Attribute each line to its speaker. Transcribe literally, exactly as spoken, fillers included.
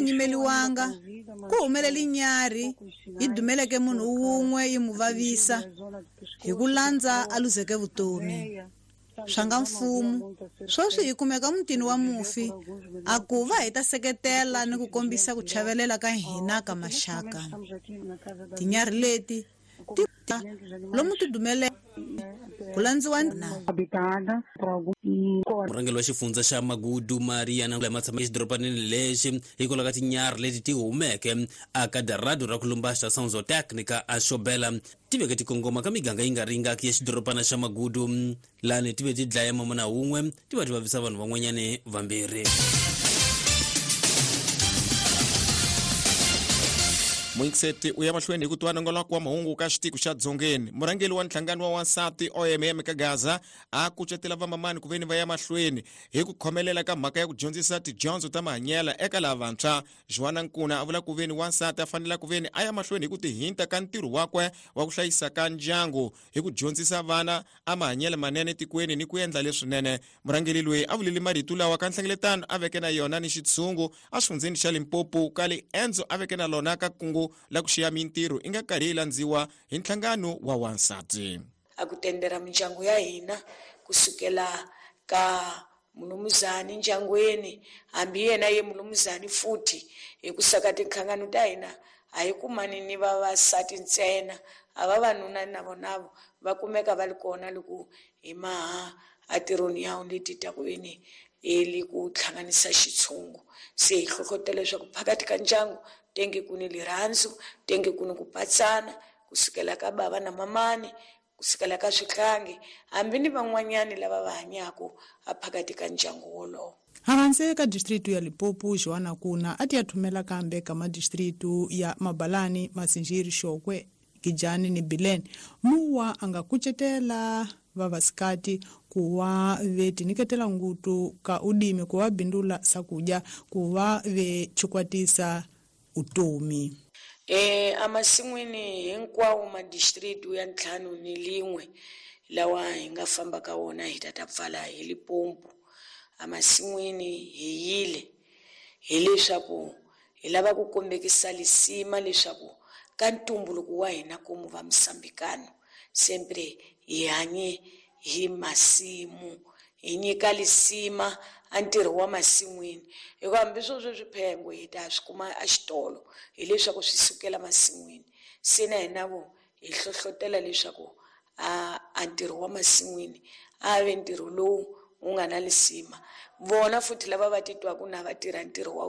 Speaker 1: Nyimeliwanga ku humelele nyarhi yi dumeleke munhu wun'we yi mu vavisa hi ku landza a luzeke vutomi. Swa nga mfumo sweswi hi kumeka mutini wa mufi a ku va hi ta seketela ni ku kombisa ku chavelela ka hina ka maxaka. Tinyarhi leti ti lomu ti dumele ku landziwa na
Speaker 2: murhangeri wa xifundza xa Magudu Mariana lama tshama exidorobanini lexi hikwalaho ka tinyarhi leti ti humeke aka darado ra ku lumba estação zootécnica a Xobela ti veke ti kongoma ka miganga yi nga ringaki ya xidorobana xa Magudu lani ti ve ti dlaya mamuna wun'we ti va ti vavisa vanhu van'wanyani vambirhi.
Speaker 3: Muingiseti u ya mahlweni hi ku twa nongoloko wa mahungu ka xitiko xa Dzongeni. Murhangeri wa nhlangano wa wansati O M M ka Gaza a kucetela vamamani ku veni va ya mahlweni hi ku khomelela ka mhaka ya ku dyondzisa tidyondzo ta mahanyela eka lavantshwa. Joana Nkuna a vula ku veni wansati a fanele ku veni a ya mahlweni hi ku tihinta ka ntirho wakwe wa ku hlayisa ka ndyangu hi ku dyondzisa vana a mahanyelo manene etikweni ni ku endla leswinene. Murhangeri loyi a vulile marito lawa ka nhlengeletano a veke na yona ni xitshungu exifundzheni xa Limpopo ka liendzo a veke na lona ka kungu la ku xiya mintirho i nga karhi yi landziwa hi nhlangano wa wansati.
Speaker 4: A ku tendera mindyangu ya hina kusukela ka mulumuzani ndyangwini hambi yena ye mulumuzani futhi hi ku saka tinhlangano ta hina a hi kumani ni vavasati ntsena a vavanuna na vona va kumeka va ri kona loko hi maha atirhoni ya leti ta ku veni eli ku hlanganisa xitshungu. Se hi hlohlotela leswaku phakathi ka ndyangu tenge ku ni lirhandzu, tenge ku ni ku patsana kusukela ka bava na mamani, kusukela ka swihlangi hambi ni van'wanyani lava va hanyaka a phakathi ka ndyangu wolowo.
Speaker 5: Havanse ka distritu ya Limpopo Joana Kuna a ti ya thumela kambe ka madistritu ya Mabalani, Masinjiri, Xokwe, Gijani ni Bileni. Muwa a nga kucetela vavasikati kuwa ve tiniketela ngutu ka udimi kuwa bindula sakuja kuwa ve chikwatisa utomi.
Speaker 4: Eh amasin'wini hinkwawo madistritu ya ntlhanu ni lin'we lawa hi nga famba ka wona hi ta ta pfala hi Limpopo. Amasin'wini hi yile hileswaku hi lava ku kombekisa lisima leswaku ka ntumbuluko wa hina komu va Msambikano sempre hi hanye hi masimu, hi nyika lisima a ntirho wa masin'wini hikuva hambi sweswo swiphengo hi ta swi kuma exitolo hileswaku swi sukela masin'wini. Se na hina vo hi hlohlotela leswaku a a ntirho wa masin'wini a ve ntirho lowu wu nga na lisima. Vona futhi lava va titwaku na va tirha ntirho wa